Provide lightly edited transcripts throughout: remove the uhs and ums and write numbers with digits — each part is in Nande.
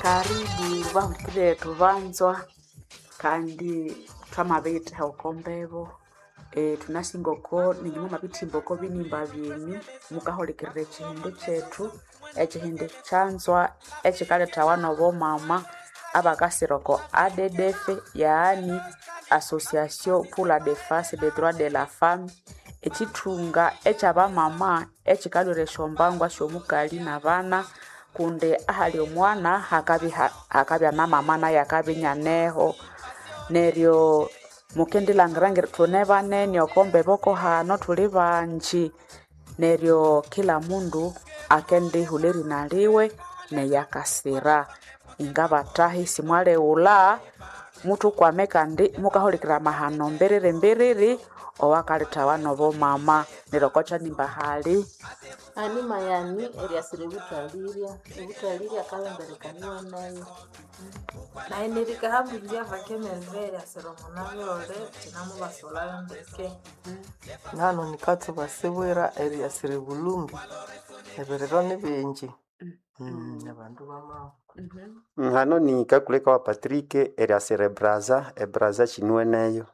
Karibu bahulikirire thubanzwa kandi thwamabiyithaha oko mbebo. Thunasinga oko ninyu mwamabithimba oko binimba byenyu mukahulikirira ekihindi kyethu, ekihindi kyanzwa ekikalethawa nobomama abakasira oko ADDF, yaani Association pour la Defense des Droits de la Femme, ekithunga ekyabamama ekikalhwira esyombangwa syomukali nabana kundi ahali omwana hakabya namama nayu akabya inyaneho. Neryo mukendilhangira ngeri thune banene oko mbebo kohano thuli bangi, neryo kila mundu akendihulha erina liwe neyakasira. Ingabathahi simwalighulha, muthukwame kandi mukahulikirira amahano mbiriri mbiriri owakalethawa nobomama. Neryo oko kyanimba hali Ani mayani eriasira ebuthalirya, ebuthalirya akalomberekaniwa nayo. Nayi nirikahambirya vakemeve eriasira omunabirore kinamubasolhayo ndeke. Nahano nikatsuba sibwira eriasira ebulumbi, ebiriro nibingi. Abandu bamawa. Hano ni kakuleka wa Patrick eriasira ebraza, ebraza kinuweneyo.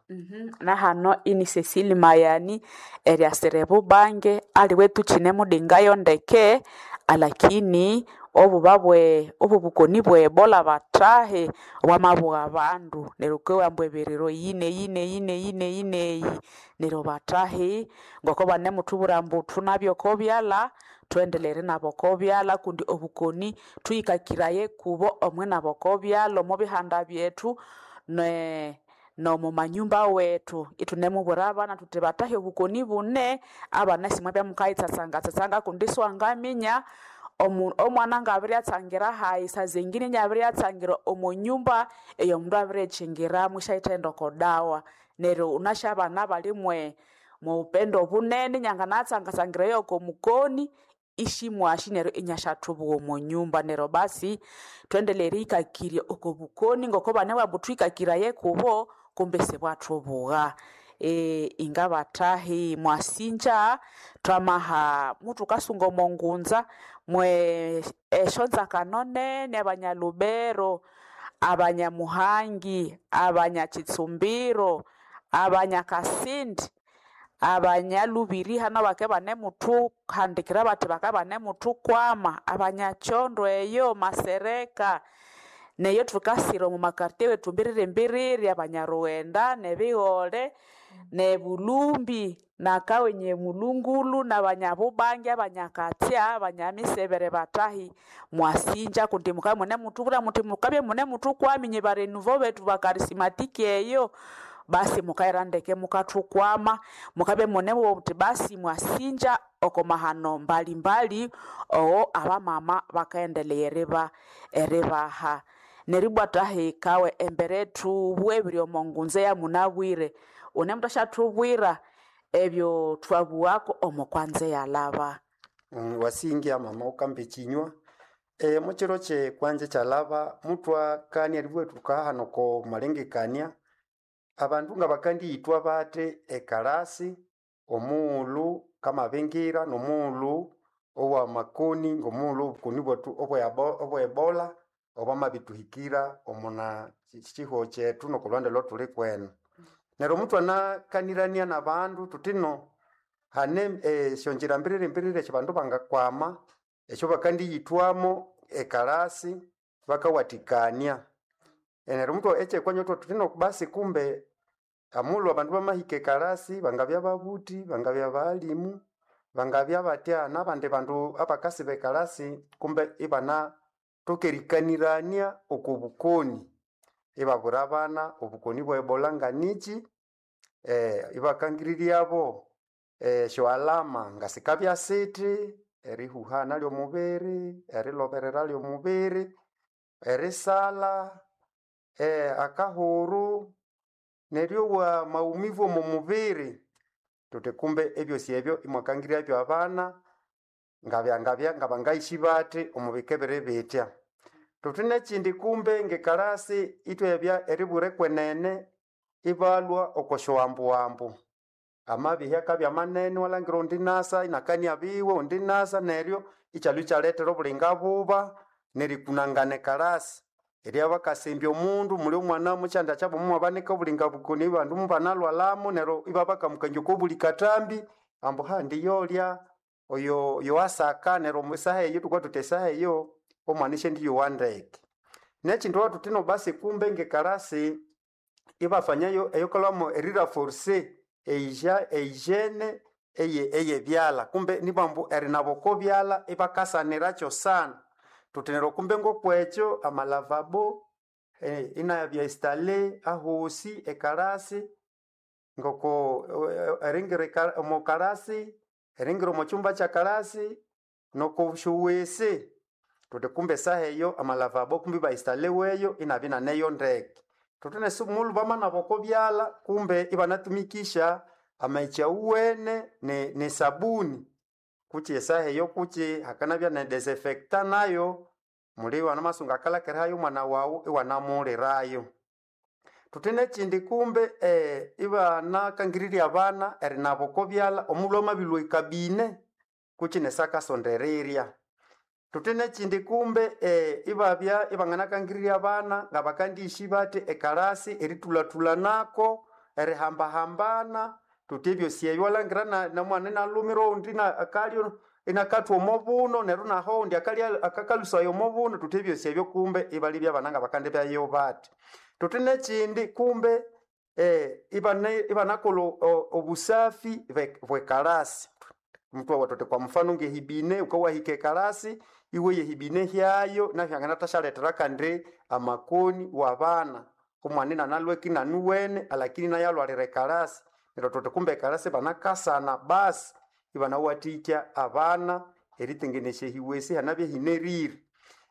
Nahano ini Cecily Mayani eriasira ebubange aliwe thukinemudingayo ndeke alakini obuba bwe obubukoni bwe Ebola bathahi bwamabugha abandu neryo wukowa ambu ebiriro eyi neyi neyi neyi neyi neyi neryo bathahi ngoko banemuthubwira ambu thunabye oko byalha thuendelere erinaba oko byalha kundi obukoni thuyikakiraye kubo omwinaba oko byalha omo bihanda byethu ne nomo manyumba wethu ithunemubwira abana thuthi bathahi obukoni bune abana isimwabya mukayitsatsangatsatsanga kundi isiwangaminya omwana ngabiryatsangira hayi sazengine inyabiryatsangira omo nyumba eyomundu abirikyingiramu isyayithaghenda oko dawa. Neryo wunasi abana bali mwe mwoupendo bunene inyanganatsangatsangira yoko mukoni isimwasi neryo inyasyathubuwa omo nyumba. Neryo basi thuendelere eriyikakirya oko bukoni ngoko banebugha ambu thuyikakiraye kubo kumbe isibwathubugha. Ingabathahi mwasinja thwamaha muthukasunga omo ngunza mwe esyonzakano nene abanyalubero, abanyamuhangi, abanyakitsumbiro, abanyakasindi, abanyalubiri hano bakabya ibanemuthuhandikira bathi bakabya ibanemuthukwama, abanyakyondo eyo masereka, neyo thukasira omo makartie wethu mbiriri mbiriri, abanyarughenda nebighole nebulumbi nakawenye mulungulu nabanyabubange abanyakatsya abanyamisebere bathahi mwasinja kundi mukabya imunemuthubwira muthi mukabya imunemuthukwama inye barenuvo bethu bakarisimatiki eyo basi mukayira ndeke mukathukwama mukabya imunemubugha muthi basi mwasinja oko mahano mbalimbali owo abamama bakaghendelaya eriba eribaha. Neribwa thahi kawe embere thubughe ebiri omo ngunza eyamunabwire wunemuthasyathubwira ebyo thwabughako omo kwanza eyalhaba. Wasinja mama wukamba ekinywa. Mukyiro kyekwanja ekyalhaba muthwakania eribugha thukahana oko malengekania abandu ngabakandiyithwa bathi ekalasi omughulhu kamabingira nomughulhu owamakoni ngomughulhu obukoni bwethu obwe Ebola obwamabithuhikira omuna kihugho kyethu nokolhuhandi olwathuli kwenu. Neryo muthwanakanirania nabandu thuthi no hane esyongyira mbiriri mbiriri esyabandu bangakwama esyabakandiyithwamo ekalasi bakawathikania. Neryo muthwa ekyekwanya ithwathuthi no basi kumbe omughulhu abandu bamahika ekalasi bangabya babuthi, bangabya baghalimu, bangabya batya nabandi bandu abakasiba ekalasi kumbe ibanathoka erikanirania oko bukoni. Ibabwira abana obukoni bwe Ebola nganikyi, ibakangiriryabo esyo alama ngasikabya sithi, erihuhana lyomubiri, eriloberera lyomubiri, erisalha, akahuru, neryowa maumivu omo mubiri. Thuthi kumbe ebyosi ebyo imwakangiryabyo abana ngabya ngabya ngabangayisi bathi omo bika ebiri bitya. Thuthi nekyindi kumbe ngekalasi ithwabya eribwira kwenene ibalhwa oko syowambuwambu. Amabihya akabya manene iwalhangira ondi inasa inakania biwe ondi inasa neryo ikyalhwa ikyalethera obulinga buba. nerikunangana ekalasi erya bakasembya omundu muli omwana mukyanda kyabo mumwabanika obulinga bukoni bandu mubanalwalamo neryo ibabakamukangya oko buli katambi ambu handi yolya oyo yoasaka neryo esaha eyo tukwa tuti esaha eyo omwana ishendiyowa ndeke. Nekindu watutino basi kumbe ngekalasi ibafanyayo eyokolamo eriraforce eija ehygiene eye eyebyalha kumbe nibambu erinaba oko byalha ibakasaniracho sana. Tuti neryo kumbe ngokwekyo amalavabo inabya installé ahosi ekalasi ngoko eringira omo kalasi, eringira omo kyumba kyakalasi noko syowese. Tuti kumbe esaha eyo amalavabo kumbe iba installweyo inabya inaneyo ndeke. Tuti nesumulhu bamanaba oko byalha kumbe ibanatumikisha amaghetse awuwene ne sabuni kutse esaha eyo kutse hakanabya ne desinfectant nayo muli iwanamasunga akalakirahayo omwana wawu iwanamughulirayo. Thuthi nekyindi kumbe ibanakangirirya abana erinaba oko byalha omulhu amabilhwa ekabine kutse nesakasonderirya. Thuthi nekyindi kumbe ibabya ibanganakangirirya abana ngabakandihisi bathi ekalasi erithulathulanako, erihambahambana, thuthi ebyosi ebyo iwalhangira nomwana inalhumira owundi akalya inakathwa omo buno neryo naho owundi akalya akakalusaya omo buno, thuthi ebyosi ebyo kumbe ibalebya abana ngabakandibyayo bathi. Thuthi nekyindi kumbe ibanakolha obusafi bwekalasi. Muthwabugha thuthi kwa mufano ngehibine wukawahika ekalasi iwoya ehibine hyayo nahyo yanganathasyalethera kandi amakoni wabana. Omwana inanalhweka inanuwene alakini inayalhwalira ekalasi. Neryo thuthi kumbe ekalasi banakasana basi ibanawathikya abana eritengenesya ehiwesi ihanabya ihinerire.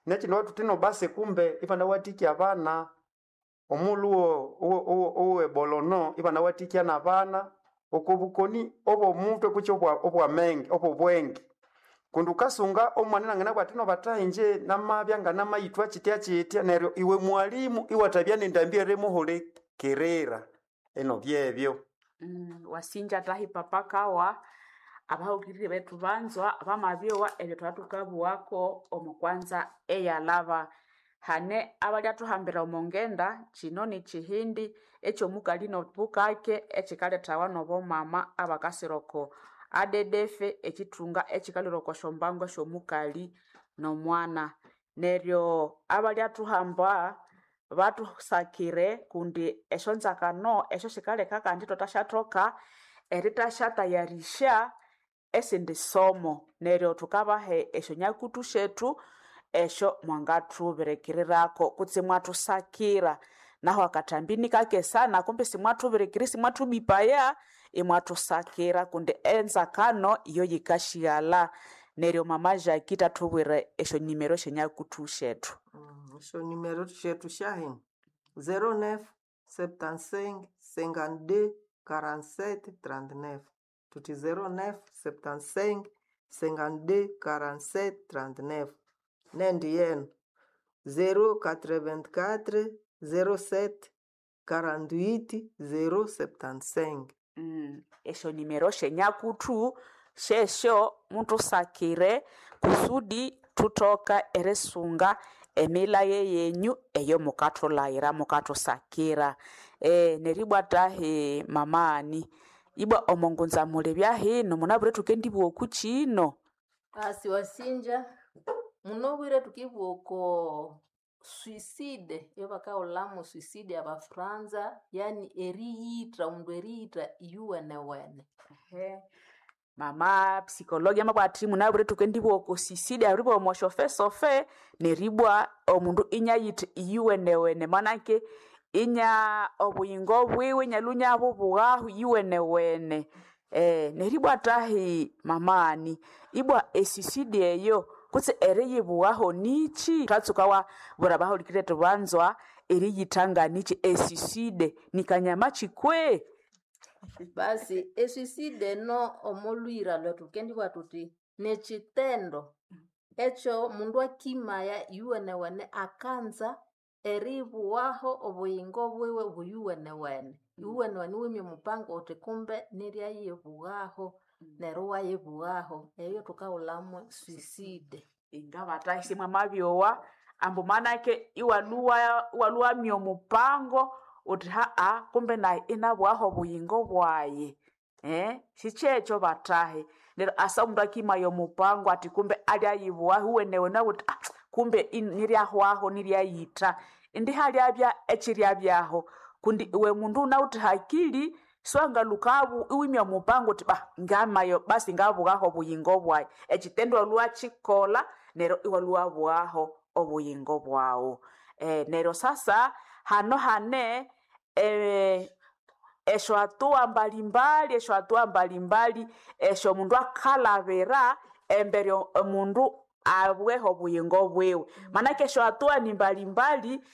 Nekyindi thuthi basi kumbe ibanawathikya abana omulhu owebolono ibanawathikya nabana oko bukoni obw'omuthwe kutse obwamenge obw'obwenge. Kundi wukasunga omwana inanganabugha athi no bathahi ingye namabya nganamayithwa kyitya kyitya neryo iwe mwalimu iwathabya nendambi erimuhulikirira. Ino byebyo. Wasinja tahi papa kawa abahukirire bethu banzwa bamabyowa ebyo thwathukabughako omo kwanza eyalhaba. Hane abalyathuhambira omo ngenda kino nikyihindi ekyomukali nobukake ekyikalhethawa nobomama abakasira oko ADDF ekyithunga ekyikalhwira oko syombango esyomukali nomwana. Neryo abalyathuhamba bathusakire kundi esyonzakano esyo sikaleka kandi ithwathasyathoka erithasyatayarisya esindi somo. Neryo thukabaha esyonyakutu syethu esyo mwangathubirikirirako kutse imwathusakira. Nahu akathambi nikake sana kumbe simwathubirikira simwathubipaya imwathusakira kundi enzakano iyo yikashyighalha. Neryo mama Jackie thathubwira esyonimero esyenyakutu syethu. Esyonimero syethu syahino 09 75 52 47 39 thuthi 09 75 52 47 39 nendi yenu 084 07 48 075. Esyonimero syenyakutu syesyo muthusakire kusudi thuthoke erisunga emilhaye yenyu eyomukathulhaghira mukathusakira. Neribwa tahi mama ani ibwa omo ngunza mulibya hino munabwire thukendibugha oku kino. Asi wasinja munobwire thukibugha oko suicide eyabakahulhamu suicide abafranza yani eriyitha omundu eriyitha iyuwenewene. Mama psychologue amabugha athi munabwire thukendibugha oko suicide aburibugha omo syofesofe neribwa omundu inyayitha iyuwenewene manake inya obuyingo bwiwe inyalhwa inyabubughahu iyuwenewene. Neribwa tahi mama ani ibwa esuicide eyo kutse eriyibughaho nikyi? Thatsuka wabwira abahulikiriri bethu banzwa eriyitha nganikyi esuicide nikanyama kyi kwe? Basi esuicide eno omolhwira lwethu thukendibugha thuthi nekyitendo ekyo mundu akimaya iyuwenewene akanza eribughaho obuyingo bwiwe buyuwenewene. Iyuwenewene iwimya omupango wuthi kumbe niryayibughaho neryo iwayibughaho eyo thukahulhamu suicide. Inga bathahi simwamabyowa. Ambu manake iwalua iwaluamya omupango uthi haa kumbe nayi inabughaho obuyingo bwayi sikyekyo batahi. Neryo asa omundu akimaya omupango athi kumbe alyayibughaho iwenewene uthi ah, kumbe niryahwaho niryayitha. Indi halyabya ekiryabyaho kundi iwe mundu wunawithe hakili siwangalukabu iwimya omupango uthi bah ngamayo basi ngabughaho obuyingo bwayi. Ekitendo walhuwakikolha neryo iwalhuwabughaho obuyingo bwaghu. Neryo sasa hano hane esyohatua mbalimbali esyohatua mbalimbali esyomundu akalhabira embere omundu abugheho obuyingo bwiwe. Manake esyohatua ni mbalimbali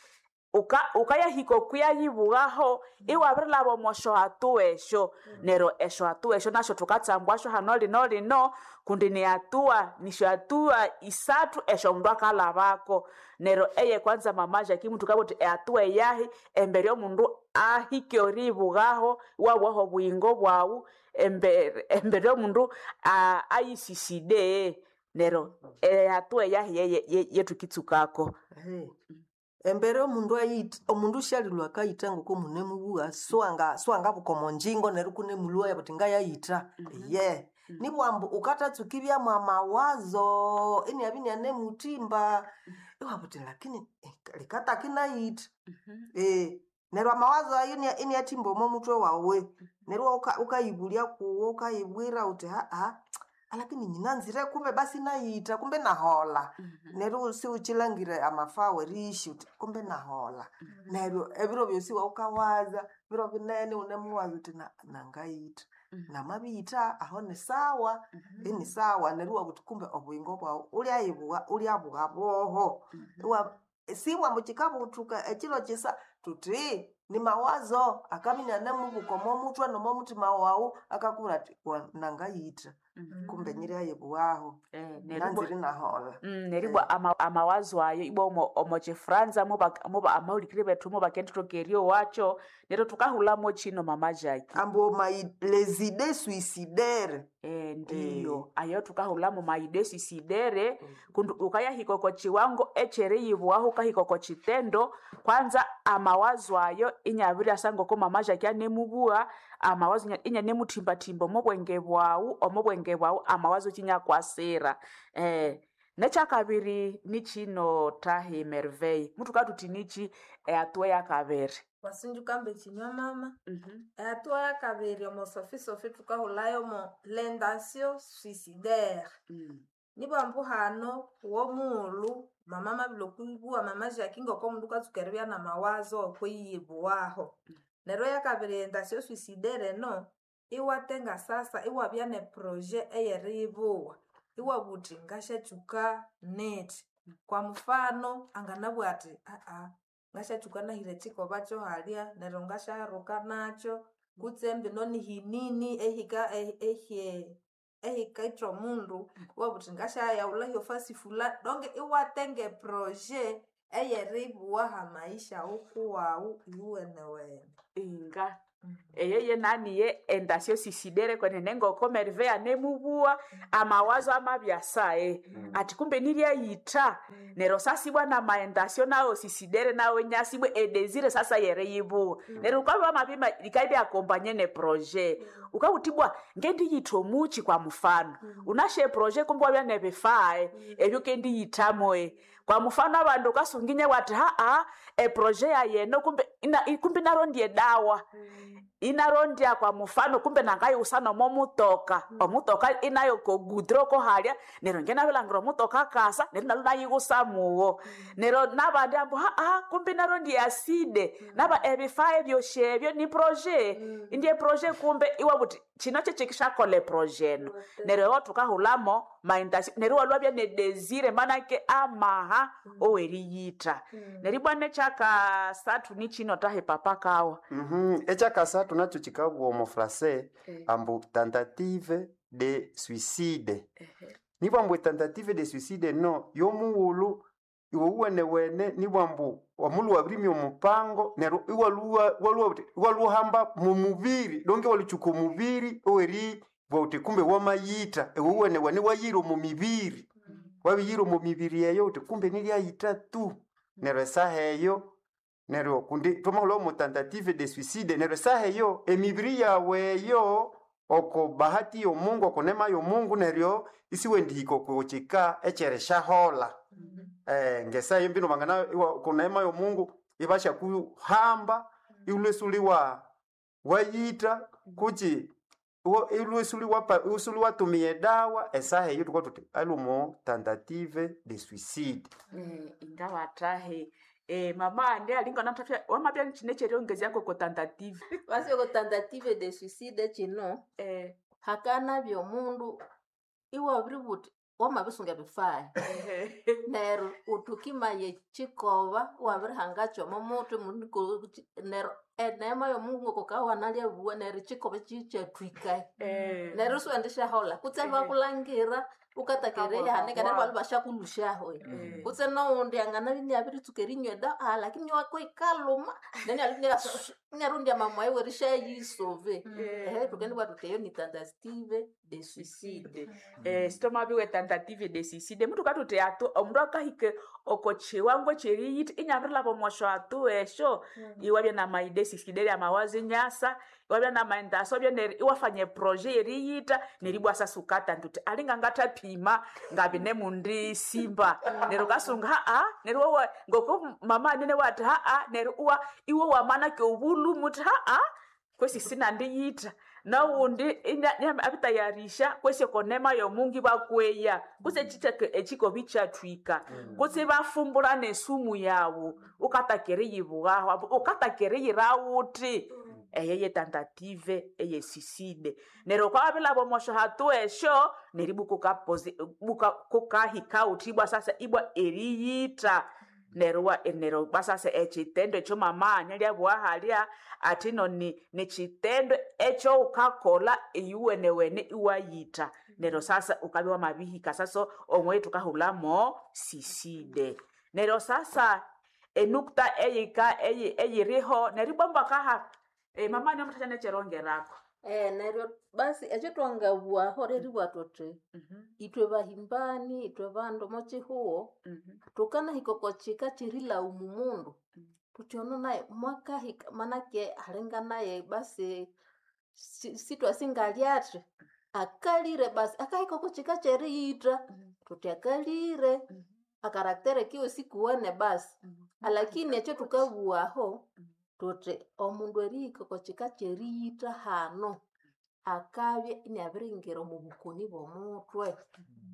ukayahika okuyayibughaho iwabirilhaba omo syohatua esyo. Neryo esyohatua esyo nasyo thukatsambwasyo hano lino lino kundi nihatua nisyohatua isathu esyomundu akalhabako. Neryo eyekwanza mama Jackie thukabugha thuthi ehatua eyahi embere omundu ahike eriyibughaho iwabughaho obuyingo bwaghu embere embere omundu ayisiside. Neryo ehatua eyahi yethukitsukako. Embere omundu ayitha omundu syalilhwa akayitha ngoko munemubugha siwanga siwangabuka omonjingo neryo ikunemulhwaya buthi ngayayitha iye. Nibwa ambu wukathatsuka ibyamu amawazo iniabya inianemuthimba iwabugha wuthi lakini likataka inayitha. Neryo amawazo ayo iniathimba omo muthwe wawu neryo wukayibulya kuwo wukayibwira wuthi haha alakini nyinanzire kumbe basi inayitha kumbe inaholha. Neryo siwukyilangire amafawo erighihya wuthi kumbe inaholha. Neryo ebiro byosi iwawukawaza biro binene iwunemuwaza wuthi nangayitha namabiyitha aho nisawa inisawa neryo iwabugha wuthi kumbe obuyingo bwawu wulyayibugha wulyabugha bwoho. Sibwa ambu kyikabuthuka ekyiro kyisa thuthi nimawazo akabya inianemubuka omo muthwe nomo muthima wawu akakubwira athi nangayitha kumbe nyiryayibughaho nanzire inaholha. Neribwa amawazo ayo ibwa omo kyifranza muba amahulikiriri bethu mubakendithoka eryowakyo neryo thukahulhamo kyino mama Jackie. Ambu les idées suicidaires. Ndiyo ayo thukahulhamu ma idées suicidaires kundi wukayahika oko kiwango ekyeriyibughaho wukahika oko kitendo kwanza amawazo ayo inyabiryasa ngoko mama Jackie anemubugha amawazo inyanemuthimbathimba omo bwenge bwaghu omo bwenge bwaghu amawazo kyinyakwasira. Nekyakabiri nikyino tahi Merveille muthukabugha thuthi nikyi ehatua eyakabiri. Wasinja wukamba ekinywa mama. Ehatua yakabiri omo sofi sofi thukahulhayo l'intention suicidaire. Nibwa ambu hano womughulhu mama amabirihika okwibugha mama Jackie ngokomundu wukatsuka eribya namawazo okwiyibughaho. Neryo eyakabiri intention suicidaire eno iwatenga sasa iwabya ne projet eyeriyibugha. Iwabugha wuthi ngasyatsuka nethi. Kwa mufano anganabugha athi ngasyatsuka nahira ekyikoba kyohalya neryo ngasyaruka nakyo kutse mbino nihinini ehika ehikaitha omundu iwabugha wuthi ngasyayaghulha hyofasi fulani donc iwatenga eprojet eyeribugha hamaisha wukuwawu iwuwenewene. Inga eyo yenaniye intention suicidaire kwenene ngoko Merveille anemubugha amawazo amabyasa athi kumbe niryayitha. Neryo sasa ibwa nama intention nawo suicidaire nawo inyasa ibwa edesire sasa yeriyibugha. Neryo wukabya wamabima yikabya accompagné ne projet wukabugha wuthi ibwa ngendiyitha omukyi kwa mufano wunasi eprojet kumbe iwabya nebifaa ebyukendiyithamu. Kwa mufano abandu wukasunga iwathi haha eprojet yayi eno kumbe kumbe inarondya edawa inarondya kwa mufano kumbe nangayiwusa nomo mutoka omutoka inayo kogudro kohalya neryo ngenabilhangira omutoka akasa neryo inalwa inayiwusa mugho. Neryo nabandi ambu haha kumbe inarondya acide naba ebifaa ebyosi ebyo ni projet indi eprojet kumbe iwabugha wuthi kino kyekyikisyakolha eprojet eno. Neryo eyo thukahulhamo ma intention neryo iwalhwabya ne desire manake amaha oweriyitha. Neryo ibwa nekyakasathu nikyino tahi papa kawa. Ekyakasathu nakyo kyikabugha omo français ambu tentative de suicide. Nibwa ambu etentative de suicide eno yomughulhu iwe wuwenewene nibwa ambu omulhu wabirimya omupango neryo iwalhuwa iwalhuhamba mumubiri donge iwalhutsuka omubiri oweribugha wuthi kumbe wamayitha iwe wuwenewene iwayira omo mibiri. Wabiyira omo mibiri eyo uthi kumbe nilyayitha tu. Neryo esaha eyo neryo kundi twamahulha omo tentative de suicide, neryo esaha eyo emibiri yawu eyo oko bahati y'omungu, oko neema y'omungu, neryo isiwendihika oko kika ekyerisyaholha. Ngesaha eyo mbino bangana oko neema y'omungu ibasyakuhamba iwulhwe isuli wayitha kutsi iwulhwe isuli watumiya edawa, esaha eyo thukabugha thuthi alhi omo tentative de suicide. Ingabathahe mama andi alinga nathathya wamabya nikyine ekyeryongezya koko tentative. Basi oko tentative de suicide kino hakanabya omundu iwabiribugha wuthi wamabisunga ebifaya neryo wuthi wukimaya ekyikoba iwabirihangakyo omo muthi neryo eneema y'omungu ngoko neryo ekyikoba kikyathwika neryo isiwendisyaholha kutse ibakulhangira wukataka erihanika neryo ibalhwa ibasyakulhusyaho kutse nowundi anganabya iniabiritsuka erinywa edawa lakini iwakoyikalhuma neryo inarondya amamwayi werisyayisove. Thukendibugha thuthi eyo ni tentative de suicide. Sithwamabigha tentative de suicide muthu thuthi atu omundu akahika oko kiwango ekyeriyitha inyabirilhaba omo syathu esyo, iwabya namaide suicidaire amawazo inyasa, iwabya namaendaso iwafanya eproje yeriyitha neribwa sasa wukatandi wuthi alinga ngathaphima ngabine simba, neryo wukasunga haa neryo ngoko mama anene wathi haa neryo iwe wamanake obulhume wuthi haa kwesi sinandiyitha, nowundi abitayarisha kwesi oko neema y'omungu ibakweya kutse ekikoba ikyathwika kutse ibafumbura nesumu yawu wukataka eriyibughaho ambu wukataka eriyira wuthi, eyo ye tentative eye suicide. Neryo wukabya omo syahathu esyo neribwa kukahika wuthi ibwa sasa ibwa eriyitha neryo neryo ibwa sasa ekyitendo ekyo mama anyalya halya athi ino nikyitendo ekyowukakolha iyuwenewene iwayitha, neryo sasa wukabya wamabihika sasa omweyo thukahulhamo suicide. Neryo sasa enukta eyika eyiriho neryo ibwa mbakaha mama niyo nekyerongerako. Neryo basi ekyathwangabughaho lyeribugha thuthi ithwe bahimbani, ithwe bandu omo kihugho thukanahika oko kika kyerilhawuma omundu thuthi ono naye mwakahika manake alinga naye basi sithwasi ngalyathi akalire basi akahika oko kika kyeriyitha thuthi akalire akaraktere kiwe sikuwene basi. Alakini ekyathukabughaho thuthi omundu erihika oko kika kyeriyitha hano akabya iniabiringira omo bukoni bw'omuthwe.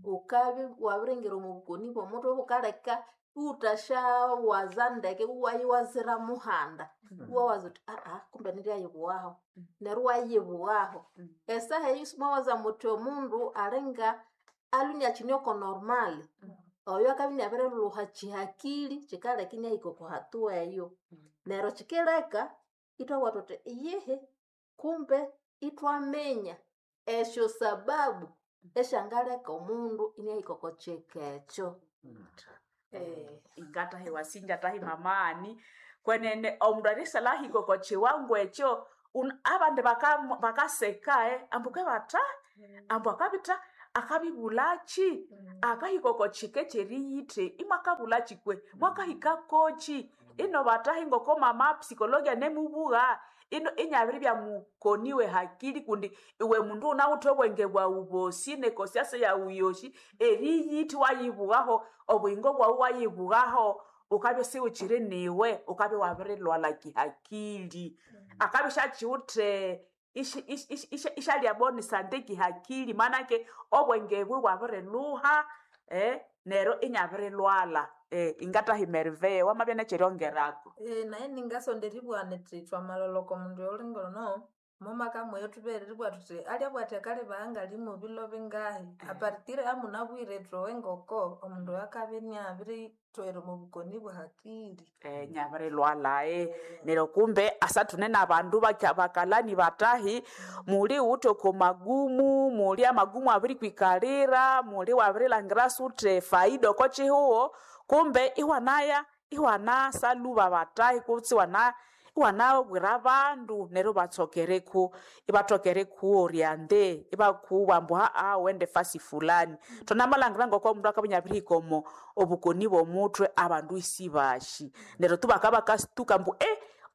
Wukabya wabiringira omo bukoni bw'omuthwe bukaleka iwuthasyawaza ndeke iwayiwazira muhanda. Iwawaza wuthi kumbe niryayibughaho neryo iwayibughaho. Esaha eyo simwawaza muthi omundu alinga alwe iniakine oko normal, oyo akabya iniabirilhuha kihakili kyikaleka iniahika oko hatua eyo. Neryo kyikileka ithwabugha thuthi iyihi kumbe ithwaminya esyo sababu esyangaleka omundu iniahika oko kika ekyo. Ingathahi wasinja thahi mamani kwenene omundu erisalhahika oko kiwango ekyo abandi bakaseka ambu kebatha ambu akabitha akabibulhaki akahika oko kika ekyeriyitha imwakabulhaki kwe mwakahika koki ino bathahi ngoko mama psikologi anemubugha ino inyabiribya mukoni wehakili kundi iwe mundu wunawithe obwenge bwawu bosi nekosiasa yawu yosi eriyitha iwayibughaho obuyingo bwawu iwayibughaho wukabya isiwukyiri niwe wukabya iwabirilhwalha kihakili akabya isyakiwithe isyalya boni sante kihakili manake obwenge bwe bwabirilhuha neryo inyabirilhwalha. Ingathahi Merveille wamabya nekyeryongerako. Nayi ningasonda eribugha nithi thwamalholha oko mundu oyulinga ono mumakamweyo thubere eribugha thuthi alyabugha athi akalibagha ngalimu bilo bingahi apartir amunabwire ithwe ngoko omundu oyo akabya iniabirithwera omo bukoni bwe hakili. Nyabirilhwalha neryo kumbe asathune nabandu bakalani bathahi muli wuthe oko magumu muli amagumu abirikwikalira muli wabirilhangira suthi faida oko kihugho kumbe iwanaya iwanasalhuba bathahi kutse iwana. Iwanabwira abandu neryo ibatsokereku ibatokere kuoriente ibakuwa ambu haa wende fasi fulani. Thwanamalhangira ngoko omundu akabya inabirihika omo obukoni bw'omuthwe abandu isibashi. Neryo tu bakabakasituka ambu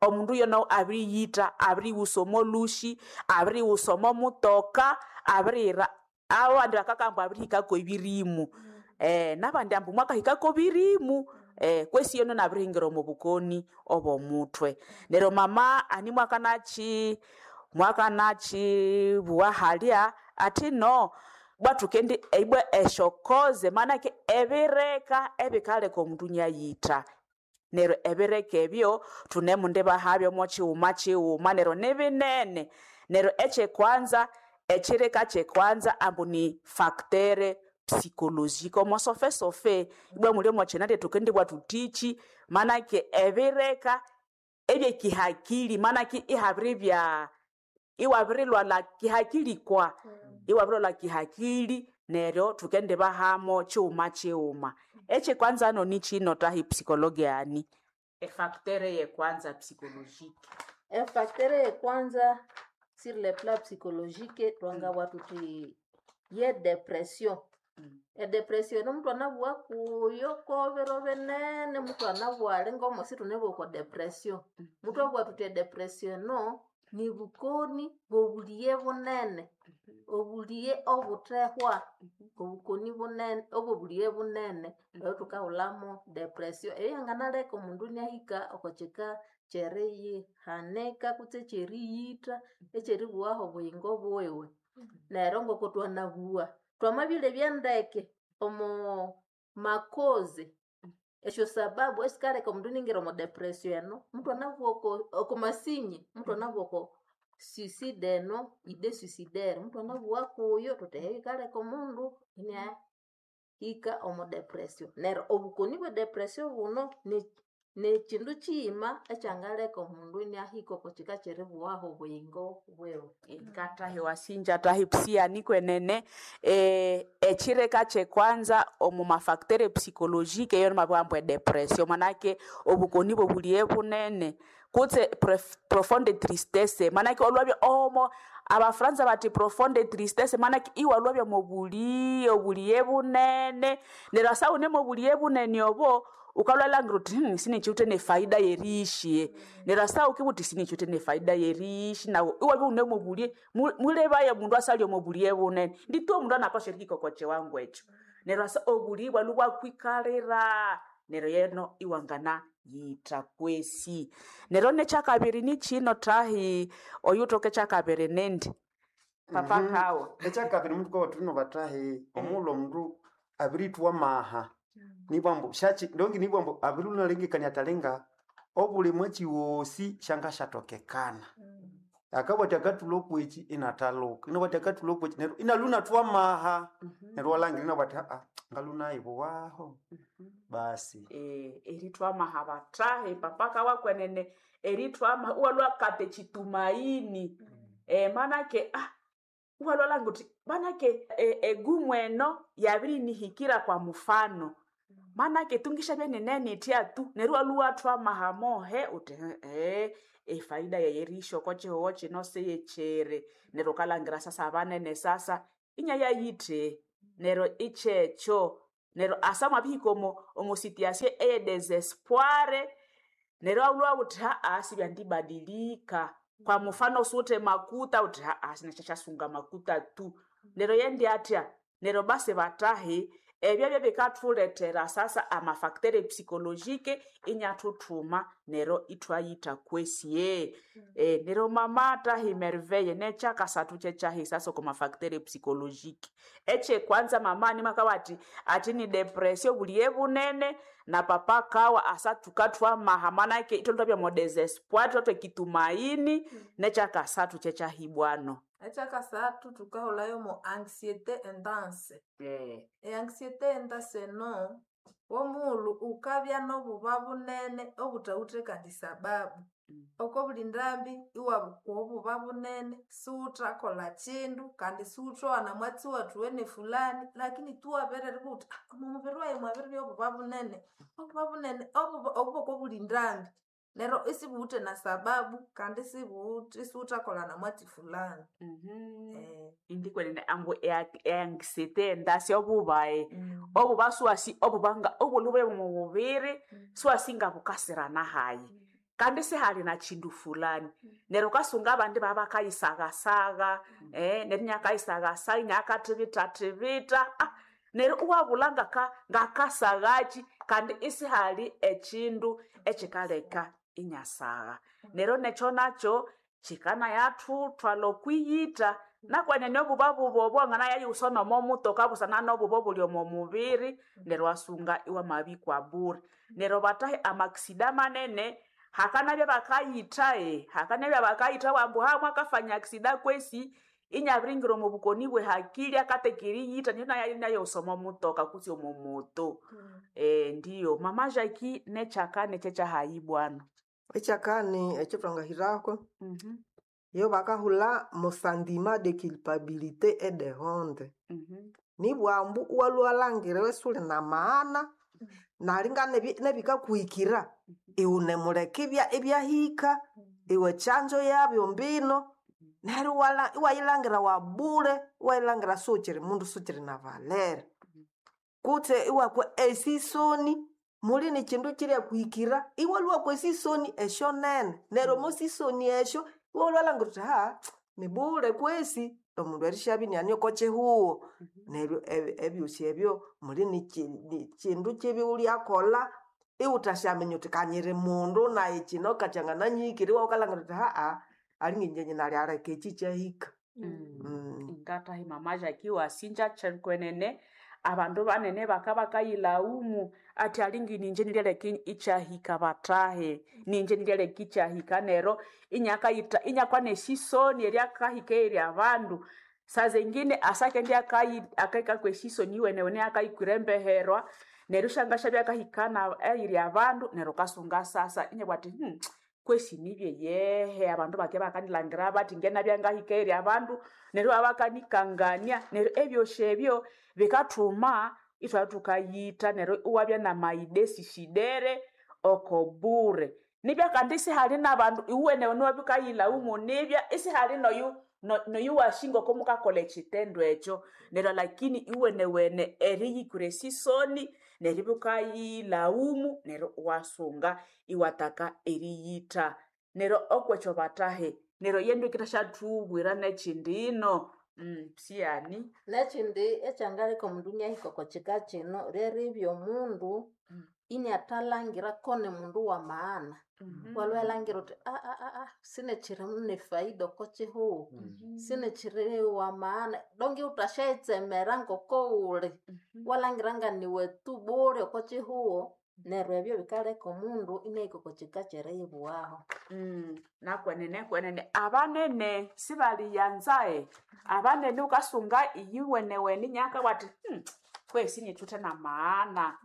omundu yono abiriyitha, abiriwusa omo lhusi, abiriwusa omo mutoka, abiriyira abandi bakakamba abirihikako ebirimu. Nabandi ambu mwakahikako birimu kwesi yono inabirihingira omo bukoni obw'omuthwe. Neryo mama ani mwakanaki mwakanakibugha halya athi no bwa thukendi ibwa esyokoze manake ebireka ebikaleka omundu inayitha. Neryo ebireka ebyo thunemundi bahabyo mo kighuma kighuma neryo nibinene. Neryo ekyekwanza ekyireka kyekwanza ambu ni facteur psychologique omo sofesofe ibwa muli omo kyina thukendi bwa thuthiki manake ebireka ebyekihakili manake ihabiribya iwabirilwalha kihakili kwa iwabirilwalha kihakili neryo thukendibahamo kighuma kighuma. Ekyekwanza no nikyino tahi psychologue ani efacteur yekwanza psychologique. Efacteur yekwanza sur le plan psychologique twangabugha thuthi ye depression. Edepression eno omundu anabugha kuyo kobiro binene mutu anabugha ali ngomosi thunabugha okwa depression. Muthwabugha thuthi edepression eno nibukoni bw'obulighe bunene, obulighe obuthehwa, obukoni bunene obw'obulighe bunene oyo thukahulhamu depression. Eyo yanganaleka omundu inahika oko kika kyeriyihanika kutse ekyeriyitha, ekyeribughaho obuyingo bwiwe. Neryo ngoko thwanabugha, thwamabyalebya ndeke omo makoze esyo sababu esikaleka omundu iningira omo depression eno, mutu anabugha oko oko masinye, mutu anabugha oko suicide eno, idée suicidaire, mutu anabugha kuyo thuthi eyo yikaleka omundu inahika omo depression. Neryo obukoni bwe depression buno ni nikyindu kiyima ekyangaleka omundu inahika oko kika kyeribughaho obuyingo bwiwe. Ngatahi wasinja tahi psia kwenene ekyireka kyekwanza omu mafacteur psychologique eyo namabugha ambu edepression manake obukoni bw'obulighe bunene kutse profonde tristesse manake olwabya omo Abafaransa bathi profonde tristesse manake iwalwabya mobulighe obulighe bunene neryo asa wune mobulighe bunene obo wukalhwa wuthi sinikiwithe nefaida yeriyishi neryo asa wukibugha wuthi sinikiwithe nefaida yeriyishi nawu iwabya iwune mobulighe mulebaye omundu asalya omo bulighe bunene nditu omundu anapaswa erihika oko kiwango ekyo. Neryo asa obulighe ibwalhwa ibwakwikalira neryo yeno iwanganayitha kwesi. Neryo nekyakabiri nikyino thahi oyuthoka ekyakabiri nindi papa kawa. Ekyakabiri muthukabugha thuthi bathahi omughulhu omundu abirithwa amaha nibwambu syaki ndongi nibwambu abirilunalengekania athi alinga obuli mwatsi wosi syangasyathokekana. Akabugha athi akathulha okweki inathalhuka, inabugha athi akathulha okweki neryo inalhwa inathwa amaha neryo iwalhangira inabugha athi ngalhwa nayibuwaho basi. Erithwa amaha bathahi papa kawa kwenene erithwa amaha iwalhwa kata ekyitumaini manake iwalhwa wuthi manake egumu eno yabirinihikira kwa mufano manake tungishabya ninenithya tu neryo iwalhwa iwathwa amaha mohe wuthi efaida yayi erihisya oko kihugho kino siyikyiri neryo wukalhangira sasa abanene sasa inyayayithe neryo ikyekyo neryo asa mwabihika omo omo situation eye desespoir neryo iwalhwa wuthi sibyandibadilika. Kwa mufano siwuthe makuta wuthi sinasyasunga makuta tu neryo yendi athya neryo basi bathahi ebyo byebikathulethera sasa amafacteur psychologique inyathuthuma neryo ithwayitha kwesi. Neryo mama thahi Merveille nekyakasathu kyekyahi sasa oko mafacteur psychologique. Ekyekwanza mama nimwakabugha athi athi ni depression obulighe bunene na papa kawa asa thukathwa amaha manake ithwalhwa ithwabya omo desespoir ithwathwa ekitumaini nekyakasathu kyekyahibwano. Ekyakasathu thukahulhayo mo anxiété intense. E-anxiété intense eno omughulhu wukabya n'obuba bunene obuthawithe kandi sababu. Oko buli ndambi iwabukwa obuba bunene siwuthakolha kyindu kandi siwuthowana mwatsi wathuwene fulani lakini tu wabiriribugha wuthi omo mubiri wayi mwabiribya obuba bunene, obuba bunene obuba obu bwoko buli ndambi. Neryo isibuwithe na sababu kandi isibuwithe isiwuthakolha na mwatsi fulani. Indi kwenene ambu eanxiety endasya obubaye obuba siwasi obubanga obulhube mumubiri siwasi ngabukasirana hayi kandi sihali na chindu fulani. Neryo wukasunga abandi babakayisagasagha, neryo inakayisagasagha inakathibithathibitha, neryo iwabulha ngaka ngakasaghaki kandi isihali echindu ekikaleka inyasagha. Neryo nekyo nakyo kikanayathutwalha okwiyitha nakwenene obuba bubi obo wanganayayighusa nomo mutoka busana nobuba obuli omo mubiri neryo iwasunga iwamabikwa bure. Neryo bathahi amakisida manene hakanabya bakayitha, hakanabya bakayitha ambu mwakafanya akisida kwesi inyabiringira omo bukoni bwe hakili akatheka eriyitha neryo inayayighusa omo mutoka kutse omo moto. Ndiyo mama Jackie nekyakani kyekyahayi bwanu? Ekyakani ekyathwangahirako yo bakahulha mo sentiment de culpabilité et de honte. Nibugha ambu iwalhwa iwalhangira isuli na maghana nalinga nebikakuhikira iwunemuleka ibyahika, iwe kyanzo yabyo mbino neryo iwayilhangira wabule, iwayilhangira siwukyiri mundu siwukyiri na valere. Kutse iwakwa esisoni muli nikyindu kyiryakuhikira iwalhwa iwakwa esisoni esyonene neryo omo sisoni esyo iwalhwa iwalhangira wuthi nibule kwesi omundu erisyabya iniane oko kyihugho. Neryo ebyosi ebyo muli nikyindu kyibi iwulyakolha iwuthasyaminya wuthi kanyiri mundu nayi kyino kakyangananyihikira iwabya wukalhangira wuthi alinga ingye nalyaleka ekyi kyahika. Ngathahi mama Jackie wasinja kwenene abandu banene bakabakayilhawumu athi alinga ningye niryaleka ikyahika bathahi, ningye niryaleka ikyahika neryo inyakayitha inyakwa nesisoni eryakahika eyiri abandu. Sazengine asakendya akahikako esisoni iwenewene akayikwira embeherwa neryo isyangasyabya akahika eyiri abandu neryo wukasunga sasa inabugha athi kwesi nibye yehe abandu bakibya bakanilhangira bathi ngenabya ngahika eyiri abandu neryo ibabakanikangania neryo ebyosi ebyo bikathuma ithwabya thukayitha neryo iwabya namayide sisidere oko bure. Nibya kandi isihali nabandu iwuwenewene iwabya wukayilhawumu nibya isihali noyu noyu wasi ngoko mukakolha ekyitendo ekyo neryo lakini iwenewene eriyikwira esisoni neryo ibya wukayilhawumu neryo iwasunga iwataka eriyitha. Neryo okwekyo bathahi neryo yendu yikithasyathuwira nekyindi ino sighani. Nekyindi ekyangaleka omundu inahika oko kyika kyino lyeribya omundu iniathalhangira ko nimundu wa maghana. Iwalhwa iwalhangira wuthi sinekyiri nefaida oko kyihugho, sinekyiri wa maghana donk iwuthasyayitsemera ngoko wuli, iwalhangira nganiwe tu bule oko kyihugho neryo ebyo bikaleka omundu inahika oko kyika kyeriyibughaho. Nakwenene kwenene abanene sibaliyanza, abanene wukasunga iyiwenewene inakabugha athi kwesi inithuthe namaghana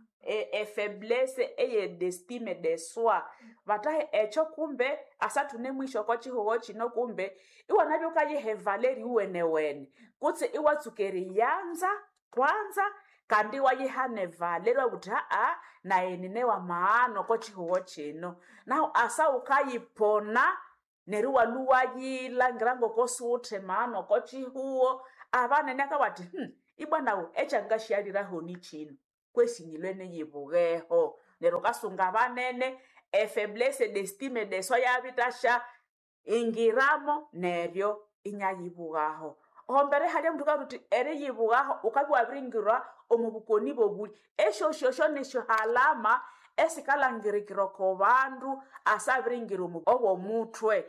efaiblesse eye d'estime de soi. Bathahi ekyo kumbe asathune mwisho oko kyihugho kyino kumbe iwanabya wukayiha evaleri iwenewene kutse iwatsuka eriyanza kwanza kandi iwayiha nevaleri iwabugha wuthi nayi nine wamaghana oko kyihugho kyino. Nahu asa wukayipona neryo iwalhwa iwayilhangira ngoko siwuthe maghana oko kyihugho abanene akabugha athi ibwa nawu ekyangasyaliraho nikyino kwesi nyilwe niyibugheho. Neryo wukasunga abanene efaiblesse d'estime de soi yabithasya ingiramo neryo inyayibughaho. Ohombere halya omundu akabugha thuthi eriyibughaho wukabya iwabiringira omo bukoni bobulhi esyosyosyo nisyohalama esikalhangirikira oko bandu asabiringira obomuthwe.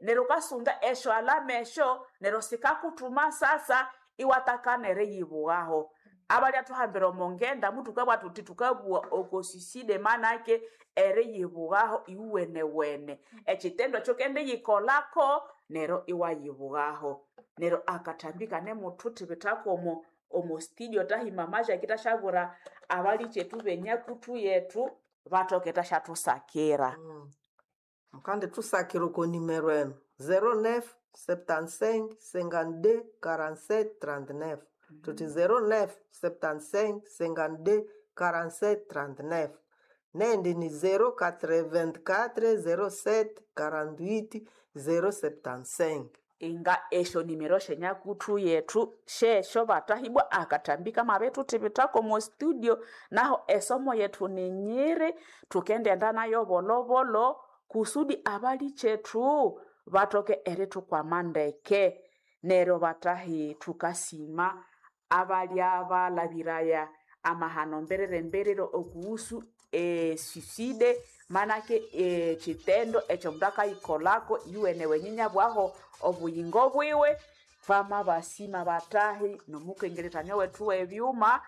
Neryo wukasunga esyohalama esyo neryo sikakuthuma sasa iwatakana eriyibughaho. Abalya thuhambira omo ngenda muthukabugha thuthi thukabugha oko suicide manake eriyibughaho iwuwenewene. Ekyitendo ekyo wukendiyikolhako neryo iwayibughaho. Neryo akathambi kanemuthuthibithako omo omo studio thahi mama Jackie thasyabwira abalikyetu benyakuthu yethu bathoke thasyathutsakira. Mukandithusakira oko nimero eno 09 75 52 47 39 thuthi 09 75 52 47 39. Nendi ni 084 07 48 075. Inga esyo nimero syenyakutthu yethu syesyo batahibwa akathambi kamabirithuthibithako omo studio. Naho esomo yethu ni nyiri, thukendiyenda nayo bolhobolho kusudi abalikyethu bathoke erithukwama ndeke. Neryo batahi, thukasima abalya balhabiraya amahano mbiriri-mbiriri okuhusu esuicide, manake ekyitendo ekyomundu akayikolhako iyuwene inyabwaho obuyingo bwiwe. Twamabasima batahi nomukengeretania wethu webyuma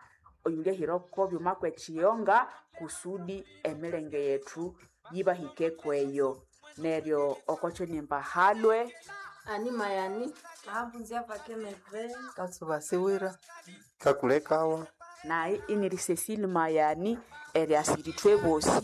oyulyahira oko byuma kwekiyonga kusudi emilenge yethu yibahike kweyo. Neryo okokyonimba halwe Ani mayani. Mahabunzia vakemeve. Katsuba siwira. Kakulekawa. Nayi iniri Cecile Mayani eryasira ithwe bosi.